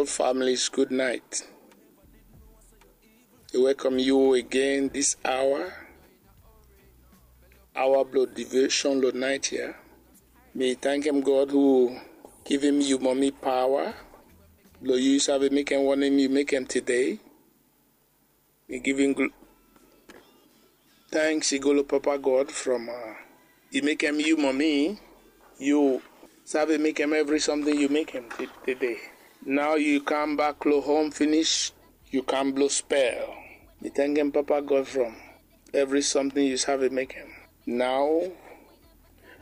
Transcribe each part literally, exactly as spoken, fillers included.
Families, good night. I welcome you again this hour. Awa blong devotion long night ya. Mi tankem God hu givim yu momi pawa blong yu save mekem wanem yu mekem tede. Mi givim gl- thanks i go long Papa God from uh, i mekem yu momi, yu save mekem evri samting yu mekem tede. Nao yu kam bak long hom finis, yu kam blong spel. Mi tankem Papa God from evri samting yu save mekem. Nao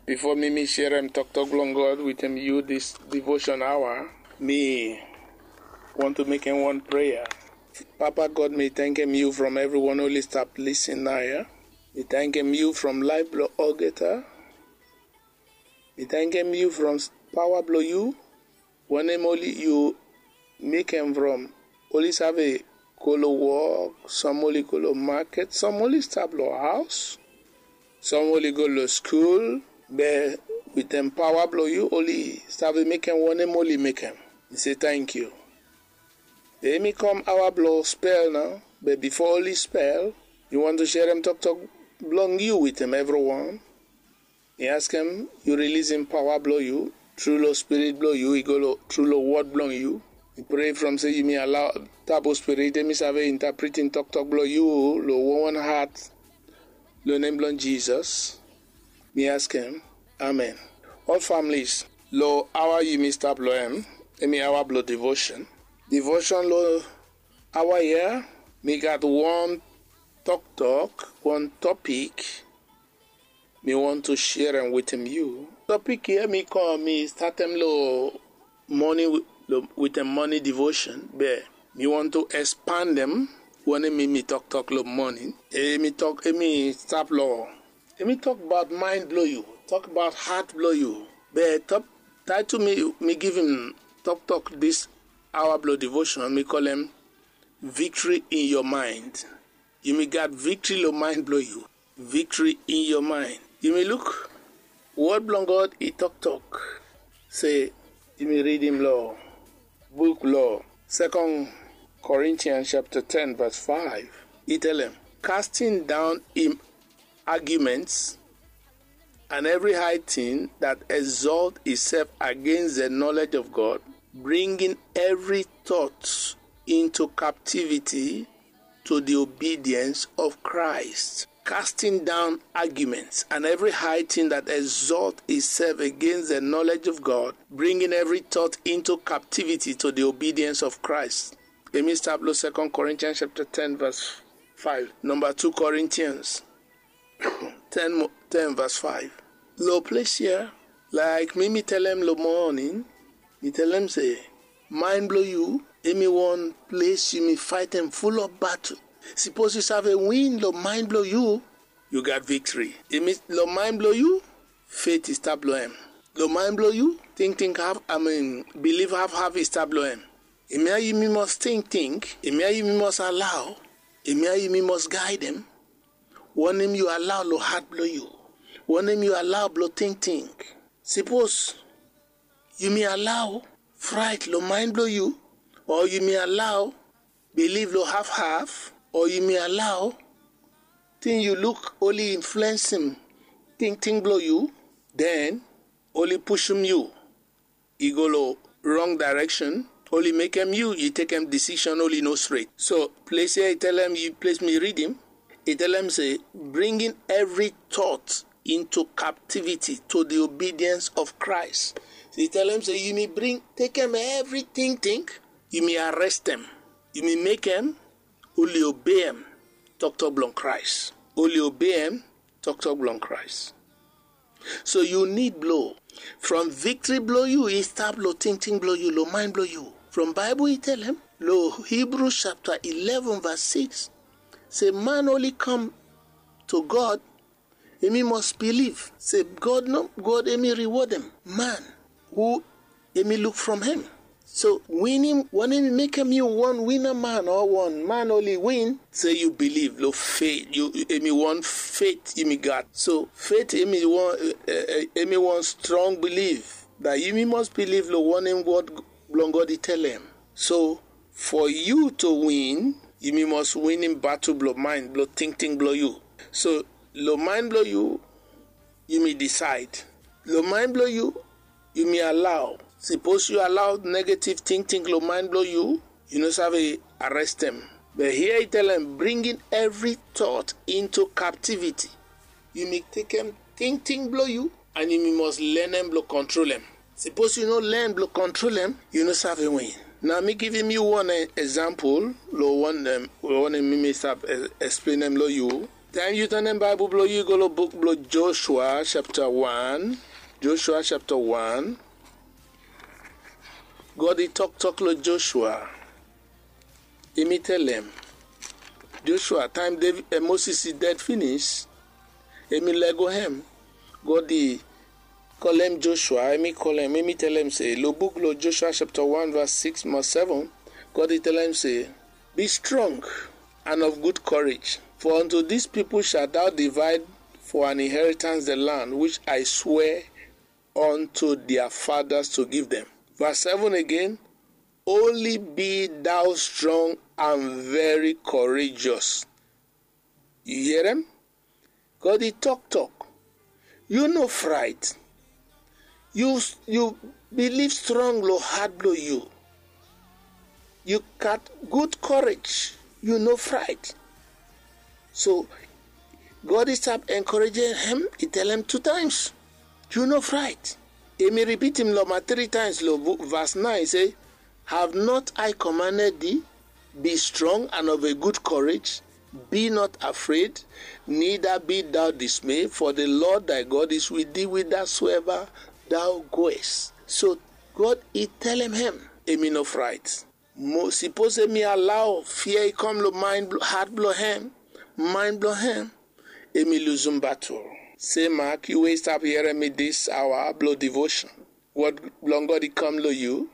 bifo mi mi sherem toktok blong God wetem yu dis devotion awa, mi want to mekem wan prea. Papa God, mi tankem yu from evriwan oli stap lisin nao ya. Mi tankem yu from laef blong olgeta. Mi tankem yu from pawa blong yu. Wanem oli yu mekem from oli save go long wok, som oli go long maket, som oli stap long haos, som oli go long skul, be wetem pawa blong yu oli save mekem wanem oli mekem. Mi se tankiu. Be mi kam awa blong spel nao, be bifo oli spel, mi want to sherem toktok blong yu wetem evriwan. Mi askem yu rilisim pawa blong yu tru long spirit blong yu i go long tru long wod blong yu. Mi prea from se yumi alao tabu spirit emi save intapritim toktok blong yu long wonwan hat. Long nem blong Jisas mi askem. Amen. Ol familis, long awa yumi stap long em, emi awa blong devotion. Devotion long awa ya, mi gat wan toktok, wan topik mi want to sherem wetem yu. Topik ya mi kom mi statem long moni, wetem moni devotion, be mi want to espandem wanem mi mi toktok long moni. Emi tok emi stap long emi tok abaot mind blong yu, tok abaot hat blong yu. Be top title mi mi givim toktok dis awa blong devotion mi kolem victory in your mind. Yumi gat victory long mind blong yu. Victory in your mind. Yumi luk wod blong God i toktok se yumi ridim long buk long Second Corinthians chapter ten verse five. I telem, casting down im arguments and every high thing that exalt itself against the knowledge of God, bringing every thought into captivity to the obedience of Christ. Casting down arguments and every high thing that exalt itself against the knowledge of God, bringing every thought into captivity to the obedience of Christ. Emi stap long Second Corinthians chapter ten verse five. Number two Corinthians ten, ten verse five. Long ples ya, laik mi mi telem long moning, mi telem se mind blong yu emi wan ples yumi faetem full of battle. Sipos yu save win long mind blong yu, yu gat victory. Emi long mind blong yu, faith i stap long em. Long mind blong yu, tingting haf, I mean, belief hafhaf i stap long em. Hemia yumi mos tingting, hemia yumi mos alao, hemia yumi mos gaedem. Wanem yu alao long hat blong yu? Wanem yu alao blong tingting? Sipos yumi alao fraet long mind blong yu, o yumi alao bilif long hafhaf, o yumi alao ting yu luk oli influensim tingting blong yu, den oli pushum yu i go long rong daereksen, oli mekem yu i tekem disisen oli no stret. So ples ya i telem, ples mi ridim, i telem se, bringing every thought into captivity to the obedience of Christ. So i telem se yumi bring, tekem evri tingting, yumi arestem, yumi mekem oli obeem toktok blong Kraes. Oli obeem toktok blong Kraes. So yu nid blong, from victory blong yu i stap long tingting blong yu, long mind blong yu. From Baebol i telem long Hebrew chapter eleven verse six se man oli kam to God, hemi mos bilif se God no, God hemi riwodem man hu hemi luk from hem. So winim, wanem i mekem yu wan wina man o wan man oli win? Se yu bilif long faith, yu, hemi wan faith yumi gat. So faith hemi wan, eh, eh, hemi wan strong bilif. Bat yumi mos bilif long wanem wod blong God i telem. So for yu to win, yumi must winim batul blong mind, blong tingting blong yu. So long mind blong yu, yumi decide. Long mind blong yu, yumi allow. Sipos yu allow negative tingting long mind blong yu, yu no save arrest dem. But here i tell dem, bringing every thought into captivity. Yumi tekem tingting blong yu, and yumi must lenem blong control dem. Sipos yu no learn blong control dem, yu no save win. Nao mi givim yu wan example long wanem mi mi stap explain dem long yu. Taem yu tanem Baebol blong yu, go long buk blong Joshua chapter one. Joshua chapter one. God i toktok long Joshua. Hemi telem Joshua, taem Moses i ded finis, hemi lego hem. God i kolem Joshua, hemi kolem, hemi telem se, long buk long Joshua chapter one verse six mo seven, God i telem se, be strong and of good courage, for unto this people shalt thou divide for an inheritance the land which I swear unto their fathers to give them. Verse seven again, only be thou strong and very courageous. Yu hear am? God i toktok. Yu no fright. Yu yu believe strong long heart blong yu. Yu gat good courage. Yu no fright. So God i stap encourage hem, i telem two times. Yu no fright. Hemi repeat im long ma three times long verse nine, i se, have not I commanded thee? Be strong and of a good courage. Be not afraid, neither be thou dismayed, for the Lord thy God is with thee whithersoever thou goest. So God i telem hem, hemi no fright. Mo sipos hemi allow fear i kam long mind heart blong hem, mind blong hem, hemi luzum batul. Se mak yu we i stap hearing mi this hour blong devotion, word blong God i kam long yu.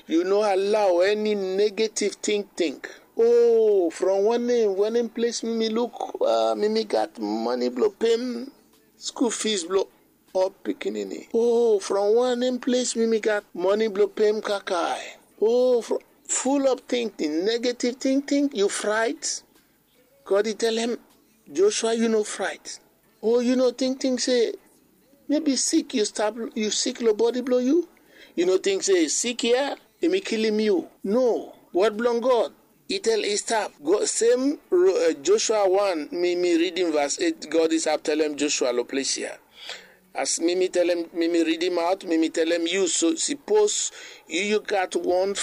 Yu no allow any negative tingting. Oh, from wanem wanem place mi mi luk, mi mi gat money blong pem school fees blong ol pikinini. Oh, from wanem place mi mi gat money blong pem kakae. Oh, from full up tingting, negative tingting, yu fright. God i telem Joshua, yu no fright. Oh, yu no tingting se maybe sick yu stap, yu sick long body blong yu? Yu no ting se sick ya hemi kilim yu? No. Word blong God i tel i stap. Sem Joshua one, mi mi ridim verse eight, God i stap telem Joshua long ples ya. As mi mi telem, mi mi ridim out, mi mi telem yu, so sipos yu yu gat wan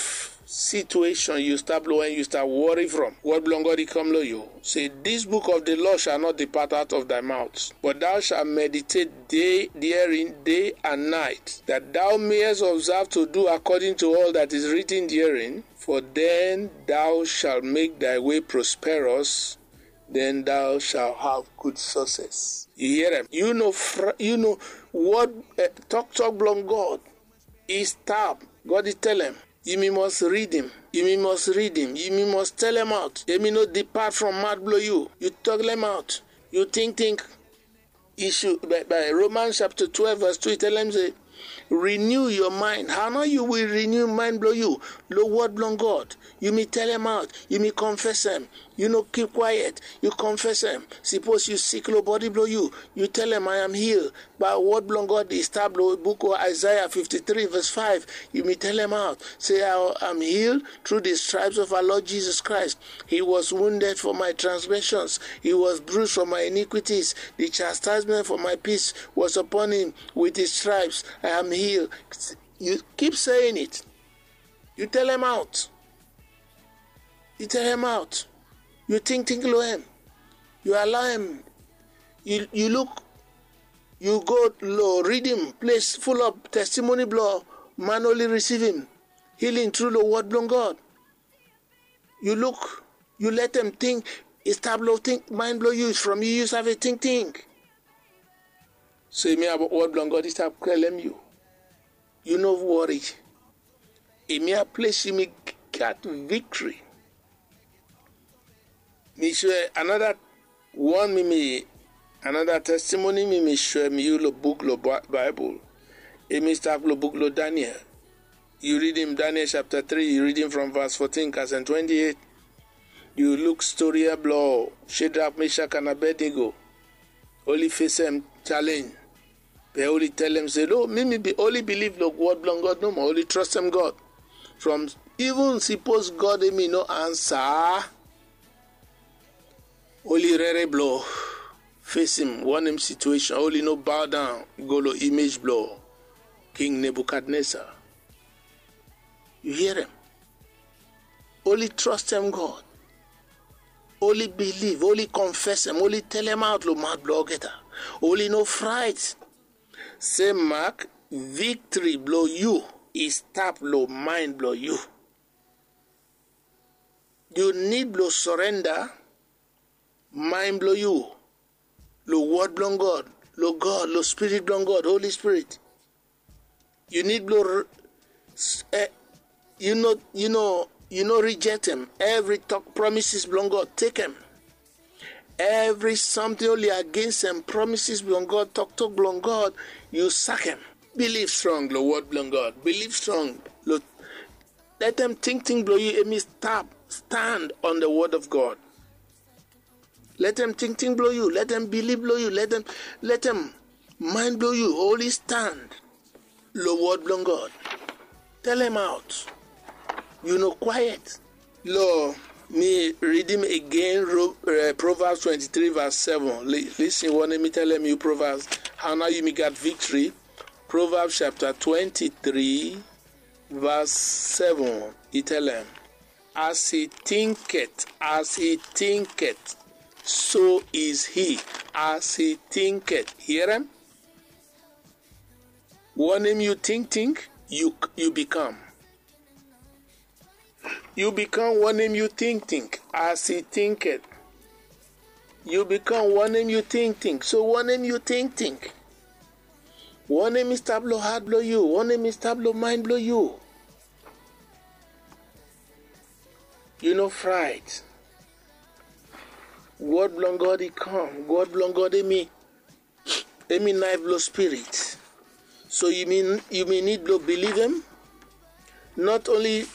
situation yu stap long en, yu stap worry from, word blong God i kam long yu. Se, this book of the law shall not depart out of thy mouth, but thou shalt meditate day therein day and night, that thou mayest observe to do according to all that is written therein. For then thou shalt make thy way prosperous, then thou shalt have good success. Yu hear am? Yu no, yu no, word, tok tok blong God i stap. God i telem, yumi must ridim, yumi must ridim, yumi must telem out. Hemi no depart from mouth blong yu. Yu toklem out. Yu tingting. Issue by Romans chapter twelve verse two i telem se, renew your mind. Hao nao yu will renew mind blong yu? Long word blong God. Yumi telem out, yumi confess am. Yu no keep quiet, yu confess am. Sipos yu sick long body blong yu, yu telem, I am healed. By word blong God i stap long book of Isaiah fifty-three verse five. Yumi telem out se, I am healed through the stripes of our Lord Jesus Christ. He was wounded for my transgressions, he was bruised for my iniquities. The chastisement for my peace was upon him. With his stripes I am healed. Yu keep saying it. Yu telem out. Yu telem out. Yu tingting long hem. Yu allow hem. Yu luk, yu go long ridim ples full of testimony blong man oli receive im healing through long word blong God. Yu luk, yu letem ting i stap long mind blong yu, from yu yu save tingting. So hemia word blong God i stap telem yu, yu no worry. Hemia ples yumi gat victory. Mi swe another wan, mi mi another testimony mi mi swem yu long book long Baebol. Hemi stap long book long Daniel. Yu ridim Daniel chapter three, yu ridim from verse fourteen kasem twenty-eight. Yu luk stori ya blo Shedrak, Meshak and Abednego. Oli fesem challenge. Be oli telem se, no, mi mi be oli bilif lo wod blong God nomo, oli trostem God. From even sipos God hemi no ansa, oli rere blo fesem wanem situation, oli no bow down go lo image blo King Nebuchadnezzar. Yu hia em? Oli trostem God. Oli bilif, oli konfesem, oli telemaot lo maot blo olgeta. Oli no fraet. Se mak viktri blo yu i stap lo maen blo yu. Yu nid blo sorenda maen blo yu lo wod blong God, lo God, lo Spirit blong God, Holi Spirit. Yu nid blo yu no yu no yu no rijektem evri tok promises blong God, tekem. Evri samting oli agensem promises blong God, toktok blong God, yu sakem. Bilif strong lo wod blong God. Bilif strong lo letem tingting blo yu hemi stap stand on the word of God. Letem tingting blo yu, letem bilif blo yu, letem letem maen blo yu oli stand lo wod blong God. Telemaot. Yu no kwaet. Lo mi ridim agen Proverbs twenty-three verse seven. Lisin wanem mi telem yu. Proverbs, hao nao yumi gat viktri. Proverbs chapter twenty-three verse seven, i telem, as he thinketh, as he thinketh, so is he. As he thinketh. Hia em? Wanem yu tingting, yu yu bikam. Yu bikam wanem yu tingting. As he thinketh, yu bikam wanem yu tingting. So wanem yu tingting? Wanem i stap lo hat blo yu? Wanem i stap lo maen blo yu? Yu no fraet. Wod blong God i kam. Wod blong God hemi hemi naef blo spirit. So yumi yumi nid blo bilivim. Not only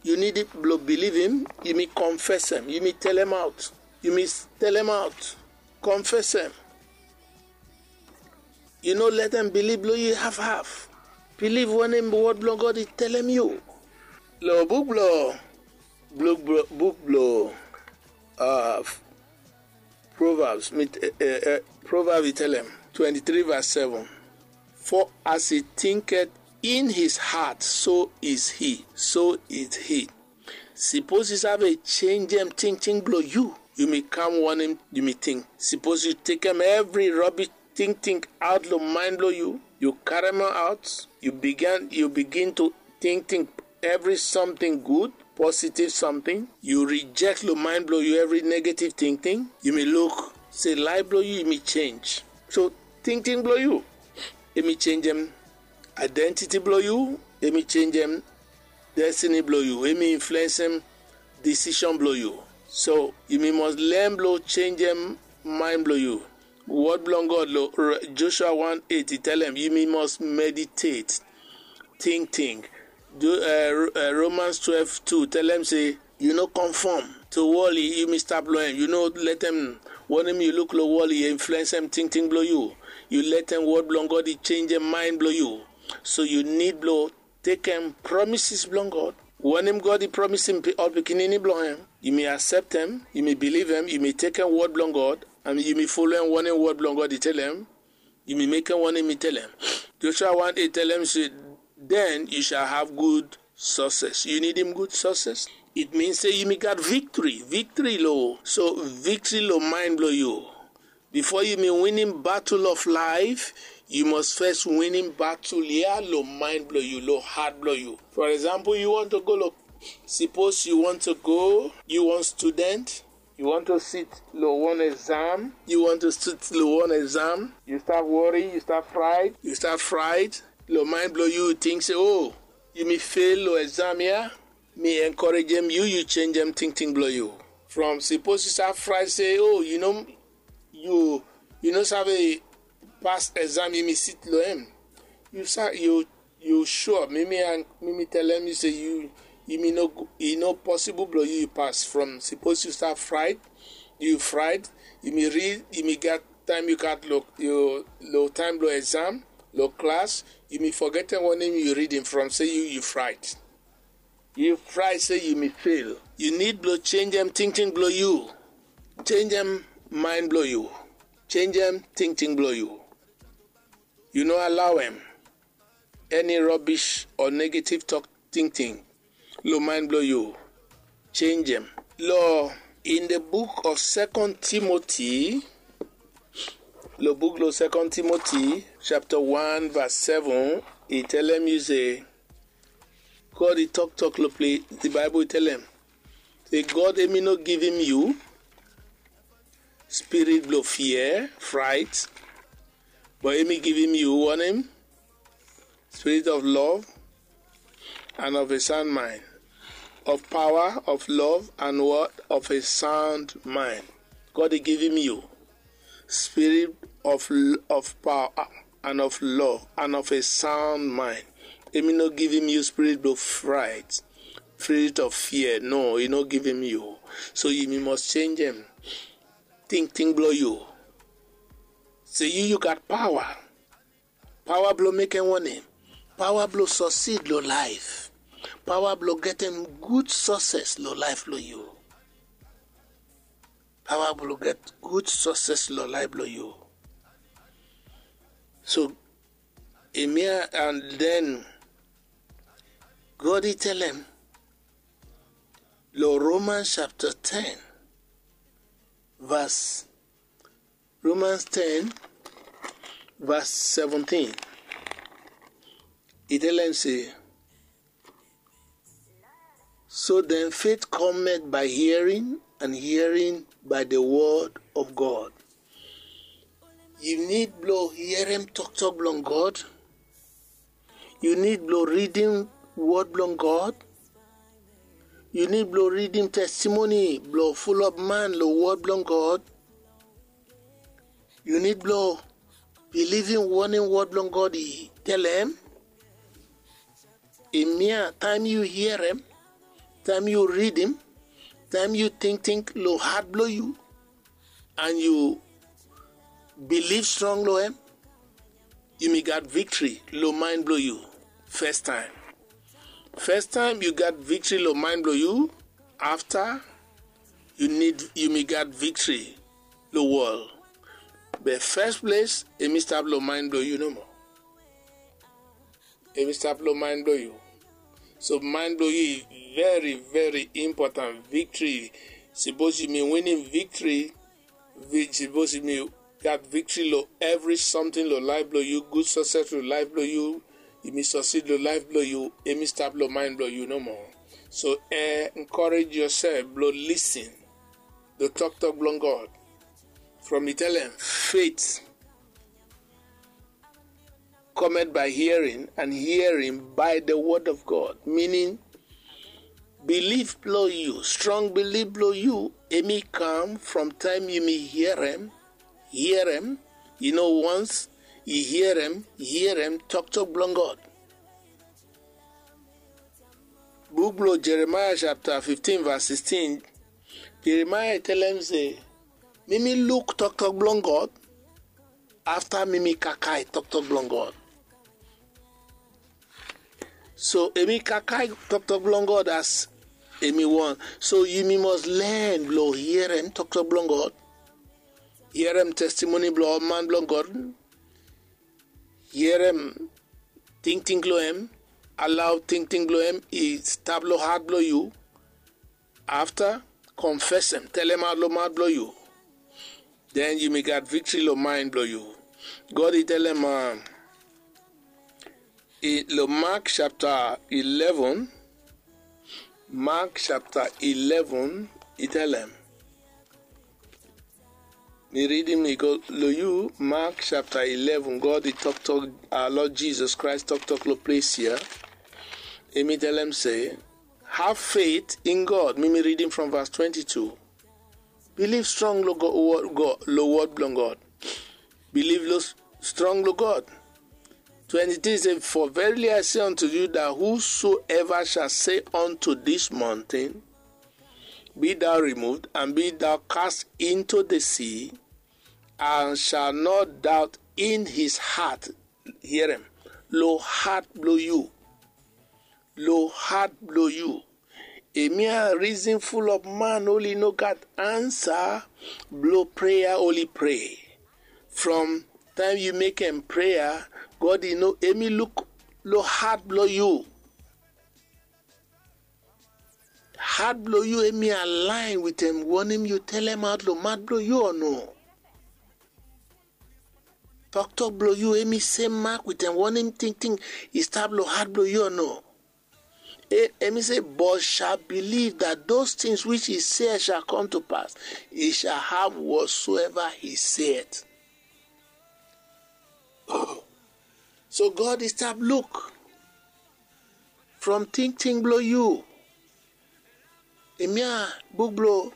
yu nid blo bilivim, yumi konfesem, yumi telemaot, yumi telemaot, konfesem. Yu no letem biliv blo yu hafhaf. Biliv wanem wod blo God i telem yu. Lo buk blo buk blo buk blo Proverbs, mi, eh, eh, Proverbs i telem, twenty-three verse seven. For as he thinketh in his heart, so is he, so is he. Sipos yu save chenjem tingting blo yu, yumi kam wanem yumi ting. Sipos yu tekem evri robish tingting aot lo maen blo yu, yu karem aot, yu bigin yu bigin to tingting evri samting gud, positiv samting. Yu rijek lo maen blo yu evri negativ tingting. Yumi luk se laef blo yu yumi chenj. So tingting blo yu hemi chenjem aedentiti blo yu, hemi chenjem destini blo yu, hemi influensem disishon blo yu. So yumi mos len blo chenjem maen blo yu. Wod blong God lo Joshua one eight i telem yumi mos meditate, tingting. Romans twelve two telem se yu no konfom to wol yumi stap lo hem. Yu no letem wanem yu luk lo wol i influensem tingting blo yu. Yu letem wod blong God i chenjem maen blo yu. So yu nid blo tekem promises blong God. Wanem God i promisim ol pikinini blong hem, yumi aseptem, yumi bilivem, yumi tekem wod blong God, and yumi folem wanem wod blong God i telem, yumi mekem wanem i telem. Joshua one eight telem se, den yu shall have good success. Yu nidim good success? It mean se yumi gat viktri. Viktri lo so viktri lo maen blo yu. Bifo yumi winim batul of laef, yu mos fes winim batul ya lo maen blo yu, lo hat blo yu. For example, yu want to go lo, sipos yu want to go, yu wan student, yu want to sit lo wan exam, yu want to sit lo wan exam, yu stap wori, yu stap fraet, yu stap fraet. Lo maen blo yu yu ting se, o, yumi fel lo exam ya. Mi enkorejem yu, yu chenjem tingting blo yu. From sipos yu stap fraet se, o, yu no yu yu no save pas exam yumi sit lo hem. Yu sa yu Yu sure? Mi mi an mi mi telem yu se yu, yu mi no go, e no possible blo yu yu pass from. Suppose yu stap fright, yu fright, yu mi read, yu mi gat time yu gat lo, yu lo time blo exam, lo class, yu mi forgetem wanem yu reading from se yu yu fright. Yu fright se yu mi fail. Yu need blo changem tingting blo yu. Changem mind blo yu. Changem tingting blo yu. Yu no allow em. Any rubbish or negative talk tingting lo mind blo yu. Changem. Lo in the book of Second Timothy, lo book lo Second Timothy chapter one verse seven, e telem yu se God e toktok lo place, the Bible e telem se God emi no givim yu spirit blo fear, fright, but emi givim yu wanem? Spirit of love and of a sound mind. Of power, of love, and what? Of a sound mind. God e givim yu spirit of, of power and of love and of a sound mind. Emi no givim yu spirit blo fright, spirit of fear. No, e no givim yu. So yu mi must changem tingting blo yu. Se yu yu gat power. Power blo mekem wanem? Power blo succeed lo life. Power blo getem good success lo life blo yu. Power blo get good success lo life blo yu. So, hemia, and then God e telem lo Romans chapter ten, verse, Romans ten, verse seventeen. E telem se, so then faith cometh by hearing, and hearing by the word of God. Yu need blo hearem toktok blong God. Yu need blo ridim word blong God. Yu need blo ridim testimony blo fulap man lo word blong God. Yu need blo bilivim wanem word blong God e telem. Hemia, taem yu hiarem, taem yu ridim, taem yu tingting lo hat blo yu, and yu biliv strong lo hem, yu mi gat victory lo mind blo yu. First time, first time yu gat victory lo mind blo yu. Afta, yu need, yu mi gat victory lo world. Be first place, hemi stap lo mind blo yu nomo. Hemi stap lo mind blo yu. So mind blo yu very, very important. Victory. Suppose yu mi winim victory, vi-, suppose yu mi gat victory lo evri something lo life blo yu, good success lo life blo yu, yu mi succeed lo life blo yu, hemi stap lo mind blo yu nomo. So, eh, encourage yourself blo listen lo toktok blong God. From e telem, faith cometh by hearing, and hearing by the word of God. Meaning, belief blo yu, strong belief blo yu, hemi kam from taem yu mi hiarem, hiarem, yu no, once yu hiarem, hiarem toktok blong God. Book blo Jeremiah chapter fifteen verse sixteen, Jeremiah telem se, mi mi luk toktok blong God, afta mi mi kakai toktok blong God. So hemi kakai toktok blong God as hemi won. So yu mi must learn blo hiarem toktok blong God. Hiarem testimony blo man blong God. Hiarem tingting lo hem. Allow tingting blo hem i stap lo hat blo yu. Afta, confess hem, telem aot lo maot blo yu. Den yu mi gat victory lo mind blo yu. God i telem, uh, i, lo Mark chapter eleven, Mark chapter eleven, i telem. Mi ridim i go lo yu, Mark chapter eleven, God i toktok, our Lord Jesus Christ toktok lo ples ya. Hemi telem se, have faith in God. Mi mi ridim from verse twenty-two. Biliv strong lo God, lo word blong God. Biliv lo, strong lo God. Twenty-three say, "For verily I say unto you, that whosoever shall say unto this mountain, Be thou removed, and be thou cast into the sea, and shall not doubt in his heart," hear am, lo heart blo yu, lo heart blo yu. Hemia reason full of man oli no gat ansa blo prayer oli pray. From time yu make am prayer, God e no, hemi look lo heart blo yu. Heart blo yu, hemi align with him wanem yu tell am out lo mouth blo yu o no? Toktok blo yu, hemi same mark with him wanem tingting i stap lo heart blo yu o no? E, hemi say, "But shall believe that those things which he said shall come to pass, he shall have whatsoever he said." So God e stap look from tingting blo yu. Hemia book blo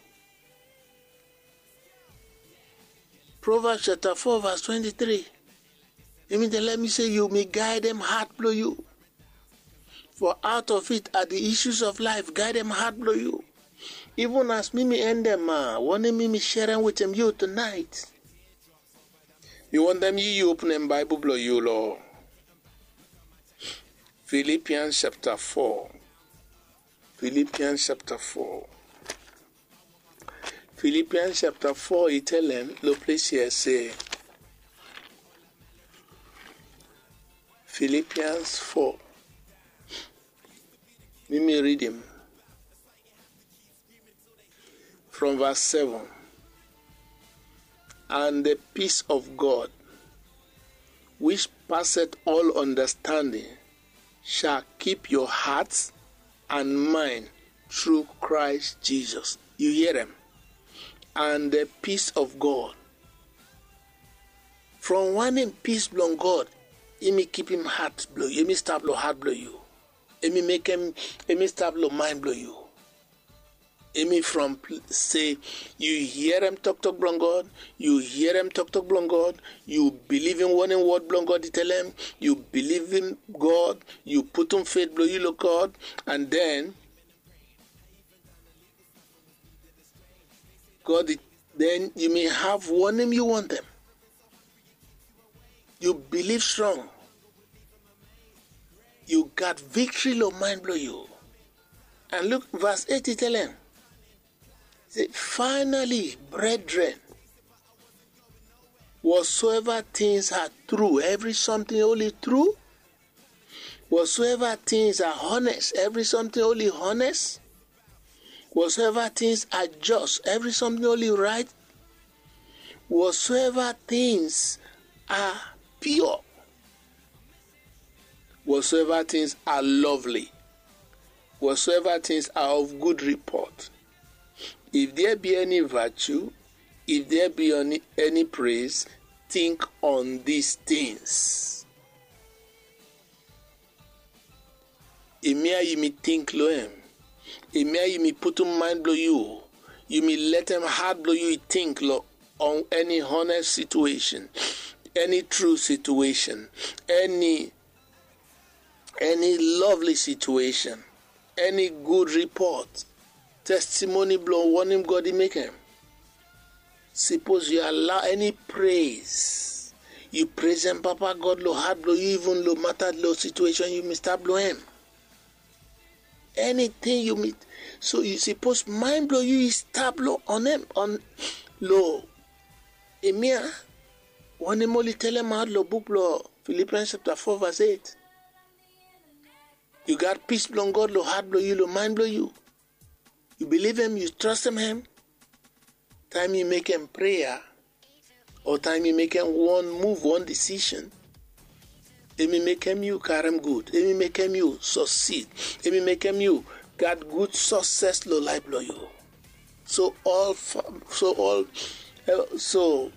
Proverbs chapter four verse twenty-three. Hemi tell mi say, "Yu mi guide dem heart blo yu. For out of it are the issues of life." Guide dem heart blo yu. Even as mi mi end dem, ah, wanem mi mi share am with dem yu tonight. Mi wantem yu, yu open dem Bible blo yu lo Philippians chapter four. Philippians chapter four. Philippians chapter four, e tell am lo place here say, Philippians four. Mi mi read am from verse seven. "And the peace of God, which passeth all understanding, shall keep your hearts and mind through Christ Jesus." Yu hear am? "And the peace of God." From wanem peace blo God, hemi keep him heart blo yu, hemi stap lo heart blo yu. Hemi make am, hemi stap lo mind blo yu. Hemi from pl-, say yu hear am toktok blo God, yu hear am toktok blo God, yu believe in wanem word blo God e tell am, yu believe in God, yu putum faith blo yu lo God, and then God e, then yu mi have wanem yu wantem. Yu believe strong. Yu gat victory lo mind blo yu. And look, verse eight e tell am say, "Finally, brethren, whatsoever things are true," evri something oli true, "whatsoever things are honest," evri something oli honest, "whatsoever things are just," evri something oli right, "whatsoever things are pure, whatsoever things are lovely, whatsoever things are of good report, if there be any virtue, if there be any, any praise, think on these things." Hemia yu mi think lo am. Hemia yu mi putum mind blo yu. Yu mi letem heart blo yu e think lo on any honest situation, any true situation, any, any lovely situation, any good report, testimony blo wanem God e make am. Suppose yu allow any praise, yu praise am, Papa God, lo heart blo yu, even lo matter, lo situation yu mi stap lo am. Anything yu mi, so yu suppose mind blo yu e stap lo on am, on lo hemia wanem oli tell am out lo book blo Philippians chapter four verse eight. Yu gat peace blo God lo heart blo yu, lo mind blo yu. Yu believe am, yu trust am. Time yu make am prayer, o time yu make am one move, one decision, hemi make am yu karem good, hemi make am yu succeed, hemi make am yu gat good success lo life blo yu. So all fa-, so all, eh, so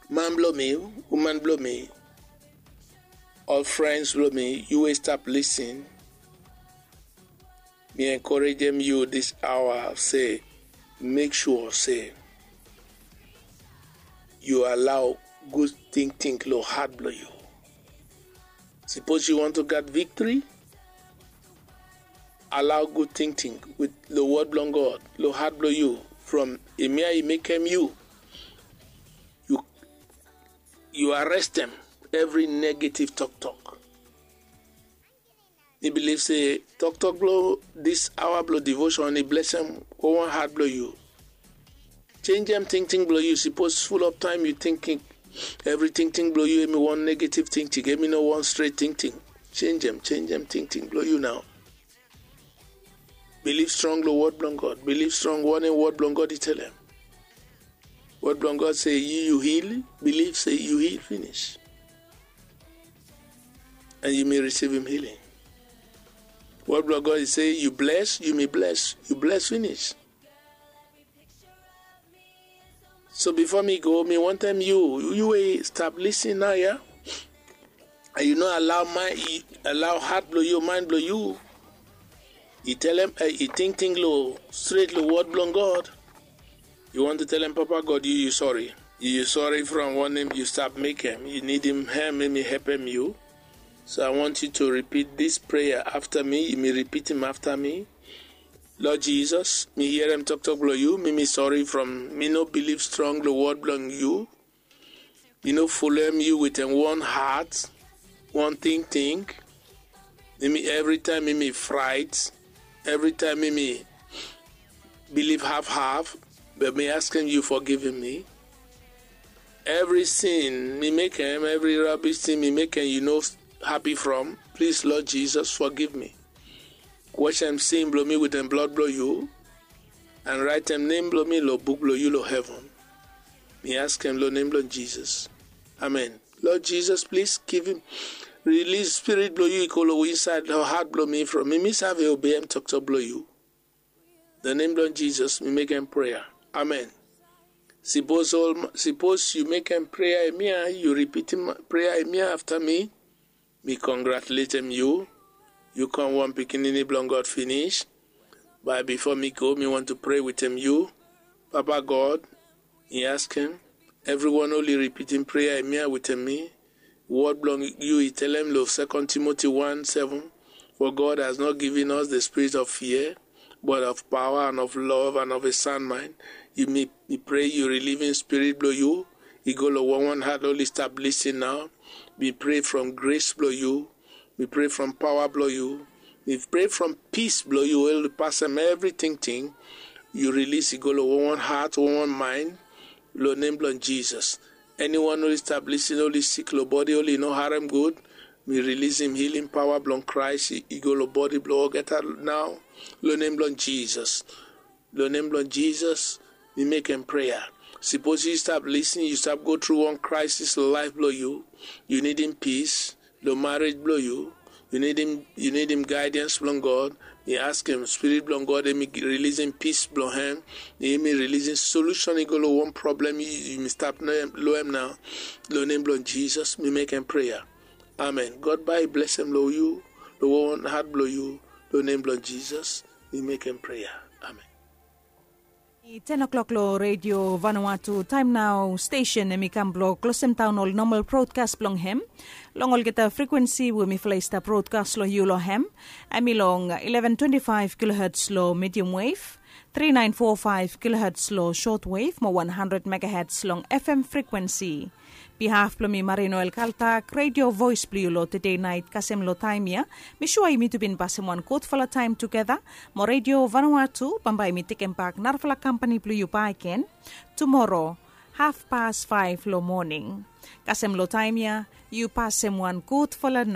man blo mi, woman blo mi, all friends blo mi, yu we stap listen, mi encourage yu this hour se make sure se yu allow good ting ting lo heart blo yu. Sipos yu want to gat victory, allow good thinking with lo word blong God lo hat blong yu from emia i mekem yu. You you arrest them every negative talk talk. Mi believe say talk talk blong this hour blong devotion e bless them. Go one heart blong you. Change them thinking blong you. Suppose full of time you thinking every thinking blong you emi one negative thinking emi no one straight thinking. Change them, change them thinking blong you now. Believe strong lo word blong God. Believe strong one in word blong God e tell them. Word blong God say you you heal. Believe say you heal finish. And you may receive him healing. Word blong God e say you bless, you may bless, you bless finish. So before mi go, mi want time you, you wey stop listen now, yeah? And you no allow mind, allow heart blong you, mind blong you. You tell him, uh, you think thing low, straight low word blong God. You want to tell him, Papa God, you, you sorry. You, you sorry from one name you stop make him. You need him, him, make me help him you. So I want you to repeat this prayer after me. You may repeat him after me. Lord Jesus, mi hear him talk talk blong you. Me, me sorry from me no believe strong the word blong you. Mi no follow him you with him one heart, one thing thing. Me, me every time me, me fright, every time me, me believe half half, but me asking you forgiving me. Every sin me make him, every rubbish thing me make him, you no happy from. Please, Lord Jesus, forgive me. Wash dem sin blong mi with dem blood blong yu, and write dem name blong mi long book blong yu long heaven. Mi ask dem long name blong Jesus. Amen. Lord Jesus, please give him, release spirit blong yu i go long inside long heart blong mi from mi mi save obey em toktok blong yu. The name blong Jesus mi make em prayer. Amen. Suppose all suppose yu make em prayer emia yu repeat him prayer emia after mi. Mi congratulatem yu. Yu come one pikinini blong God finish. But before mi go mi want to pray wetem yu. Papa God, mi askem, everyone oli repeating prayer emia wetem mi. Word blong yu i telem long second Timothy one seven, for God has not given us the spirit of fear, but of power and of love and of a sound mind. Yu mi mi pray yu relieving spirit blong yu i go long one one heart oli stap lisin now. Mi pray from grace blong yu. Mi pray from power blong yu. Mi pray from peace blong yu wey pasem everything ting. Yu release i go long one one heart, one one mind, long name blong Jesus. Anyone oli stap lisin oli sik long body oli no harem good. Mi release him healing power blong Christ i go long body blong olgeta now. Long name blong Jesus. Long name blong Jesus, mi mekem prayer. Suppose yu stap lisin yu stap go through one crisis long life blong yu. Yu need him peace long marriage blong yu. Yu need him yu need him guidance blong God. Mi askem spirit blong God emi releasing peace blong hem. Emi releasing solution i go long one problem yu mi stap long hem now. Long name blong Jesus mi mekem prayer. Amen. God bai blessem long yu long one heart blong yu. Long name blong Jesus mi mekem prayer. Amen. I ten o'clock long Radio Vanuatu taem nao stesen em i kam blong klosem daon ol nomal brodkas blong hem. Long olgeta frekuensi we mifala i stap brodkas long yu long hem, em i long eleven twenty five kiloherts long medium wave, three nine four five kiloherts long short wave mo one hundred megaherts long FM frekuensi. Bihaf blong mi Marinoel Kaltak, Radio Voice blong yu long tede nait kasem long taem ya. Mi sua yumi tu bin pasem wan gudfala taem tugeta. Mo Radio Vanuatu bambae mi tekembak narafala kampani blong yu bakegen tumoro hafpas faef long moning. Kasem long taem ya yu pasem wan gudfala